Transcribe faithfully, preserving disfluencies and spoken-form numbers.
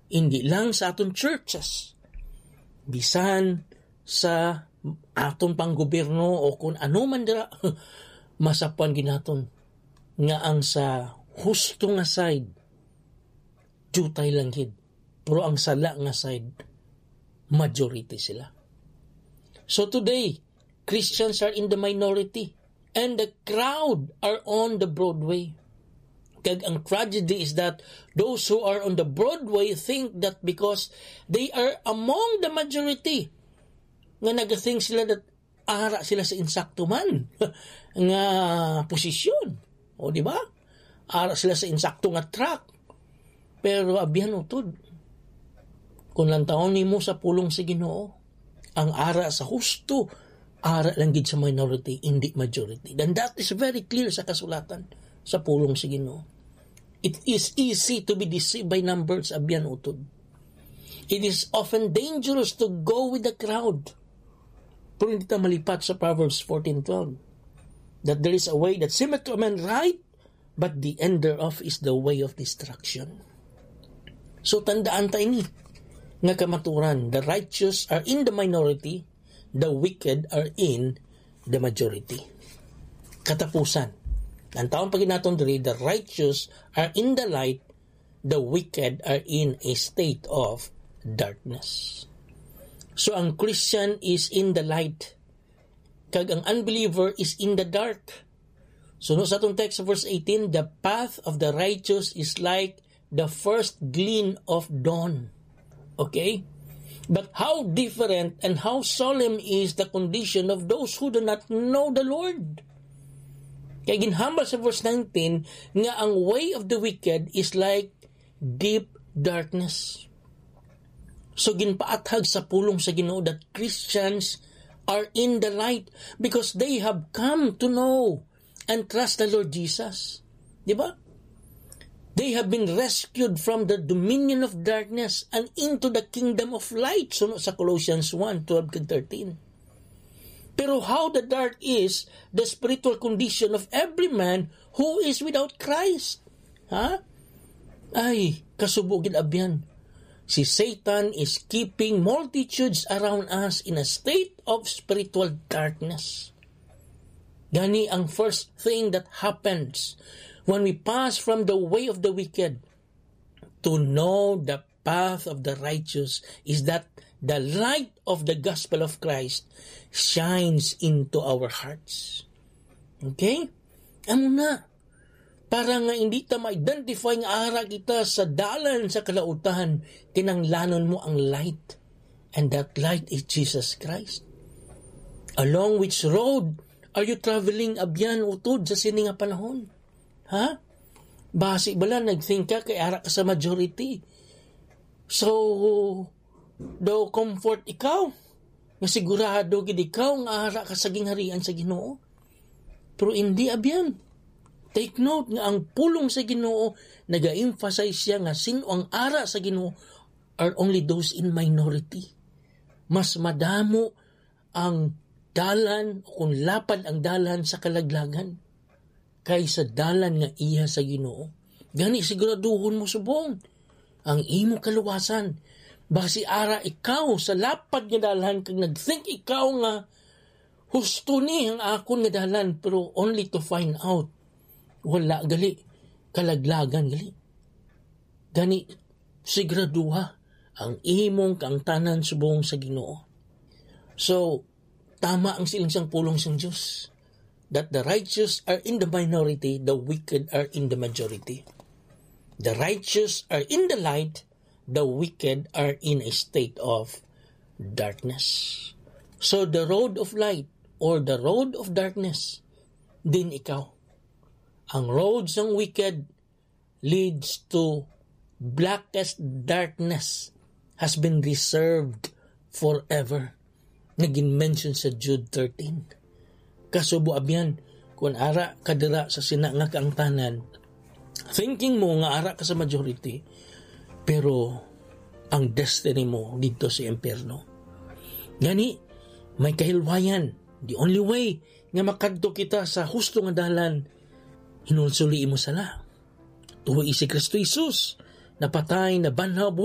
Hindi lang sa aton churches, bisan sa aton pang gobyerno o kung ano man dira, masapwan gid naton nga ang sa husto nga side, diutay lang gid. Pero ang sala nga side, majority sila. So today, Christians are in the minority, and the crowd are on the Broadway. Kag ang tragedy is that those who are on the Broadway think that because they are among the majority, nga nag-think sila that ara sila sa insakto man nga posisyon. O, di ba? Ara sila sa insakto nga track. Pero abyan, utod, kung lantawon nimo sa pulong sa Ginoo, ang ara sa husto, ara lang gid sa minority, hindi majority. And that is very clear sa kasulatan, sa pulong sa Ginoo. It is easy to be deceived by numbers, abyan, utod. It is often dangerous to go with the crowd. Pero hindi ta malipat sa Proverbs fourteen twelve, that there is a way that seemeth to a man right, but the end thereof is the way of destruction. So, tandaan ta ini nga kamaturan, the righteous are in the minority, the wicked are in the majority. Katapusan, ang taon pag naton diri, the righteous are in the light, the wicked are in a state of darkness. So, ang Christian is in the light, kag ang unbeliever is in the dark. So, no, sa atong text, verse eighteen, "The path of the righteous is like the first gleam of dawn." Okay? But how different and how solemn is the condition of those who do not know the Lord. Kay ginhambal sa verse nineteen nga ang way of the wicked is like deep darkness. So, ginpaathag sa pulong sa Ginoo that Christians are in the light because they have come to know and trust the Lord Jesus. Di ba? They have been rescued from the dominion of darkness and into the kingdom of light, suno sa Colossians one twelve kag thirteen. Pero how the dark is the spiritual condition of every man who is without Christ. Ha? Ay, kasubo gid abyan. Si Satan is keeping multitudes around us in a state of spiritual darkness. Gani ang first thing that happens when we pass from the way of the wicked to know the path of the righteous is that the light of the gospel of Christ shines into our hearts. Okay? Amo na. Para nga hindi ta ma-identify nga ara kita sa dalan sa kalautan, kinahanglanon mo ang light. And that light is Jesus Christ. Along which road are you traveling, abyan, utod sa sini nga panahon? Ha? Basi bala nag-think ka kay ara ka sa majority. So, daw comfort ikaw, nga sigurado gid ikaw nga ara ka sa gingharian sa Ginoo. Pero hindi, abyan. Take note nga ang pulong sa Ginoo, naga-emphasize siya nga sino ang ara sa Ginoo are only those in minority. Mas madamo ang dalan, o kung lapad ang dalan sa kalaglagan, kaysa dalan nga iya sa Ginoo. Gani, siguraduhon mo subong ang imo kaluwasan. Basi ara ikaw sa lapad nga dalan kag nag-think ikaw nga husto ni ang akon nga dalan, pero only to find out, wala gali, kalaglagan gali. Gani, siguraduha ang imong kaangtanan subong sa Ginoo. So, tama ang siling sang pulong sang Dios, that the righteous are in the minority, the wicked are in the majority. The righteous are in the light, the wicked are in a state of darkness. So the road of light or the road of darkness, din ikaw. Ang road sang wicked leads to blackest darkness has been reserved forever, nga gin-mention sa Jude thirteen. Kasubo, abyan, kung ara ka dira sa sina nga kaangtanan, thinking mo nga ara ka sa majority, pero ang destiny mo didto sa impyerno. Gani, may kahilwayan. The only way nga makadto kita sa husto nga dalan, hinulsoli imo sala. Tuo si Kristo Jesus, napatay, nabanhaw,